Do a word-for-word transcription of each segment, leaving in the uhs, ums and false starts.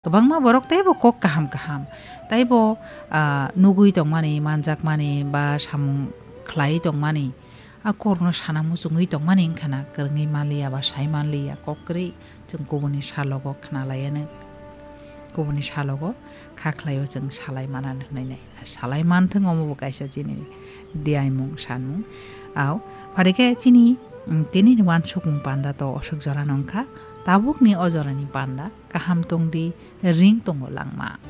Kwbangma borok teibo kok kaham kaham, teibo, ah, nugwi tongmani, manjakmani ba samung khlaiwi tongmani, a kokno sana muchungwi tongmani wngkha na kwrwngwi manliya ba sai manliya kok kwrwi chwng kubuni salogo khna laiya nw. Kubuni salogo kha khlaio chwng salai mana hwnwi nai. Salai manthwng omo bo kaisa chini diaimung sanmung. Au, phari khe chini, mm, tini ni wansukmung panda to oswk jora no wngkha. Tabukni o jorani panda kaham tongdi, ring tongo langma.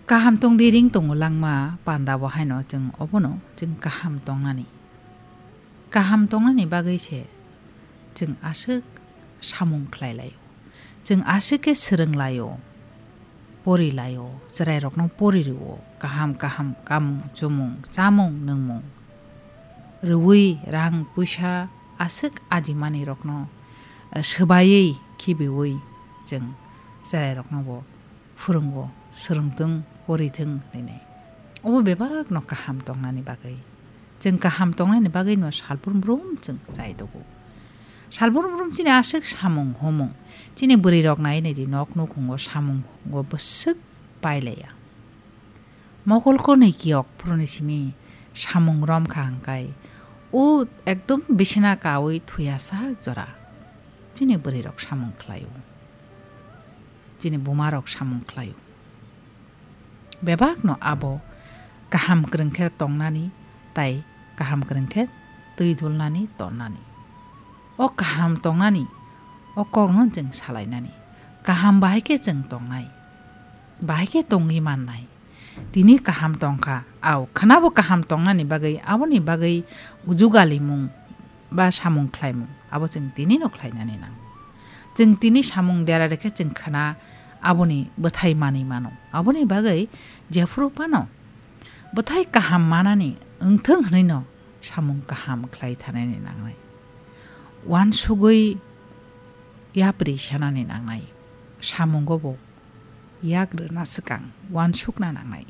Kaham tongdi, ring tongo langma panda bo haino chwng obono chwng kaham tongnani. Kaham tongnani bagwi se chwng aswk samung khlai laio. Chwng aswk khe swrwng laio, pori laio, chwrairokno pori rwo, kaham kaham kamung chumung, chamung nwngmung rwui rang puisa aswk ajimanirokno, eh, swbaiwi khibiui chwng chwrairokno bo phwrwngo, swrwngthwng, porithwng hwnwi. Obo bebakno kaham tongnani bagwi. Chwng kaham tongnani bagwino salbrum brum chwng chai dogo. Salbrum brum chini aswk samung humung. Chini bwrwirok nai naidi nok nukhungo samungo bwswk pailaiya. Mokol konwi kiyok phuruni simi samung romkha hwnkhe o ekdom bisina kaui thuya sak jora. Chini bwrwirok samung khlaio. Chini bumarok samung khlaio. Bebakno abo kaham kwrwng khe tongnani tei kaham kwrwng khe twi dulnani tonnani. O kaham tongnani, o kokno chwng salainani. Kaham bahai khe chwng tongnai. Bahai khe tongwi mannai. Tini kaham tongkha, au, khwnabo kaham tongnani bagwi, aboni bagwi jugalimung ba samung khlaimung, abo chwng tinino khlainani nango. Chwng tini samung dera rekhe chwng khwna aboni bwthai manwi mano. Aboni bagwi jephuru phano bwthai kaham manani wngthwng hwnwino samung kaham khlai thanani nangnai. Wansugwi yapri sanani nangnai. Samungo bo yak rwna swkang wansukna nangnai.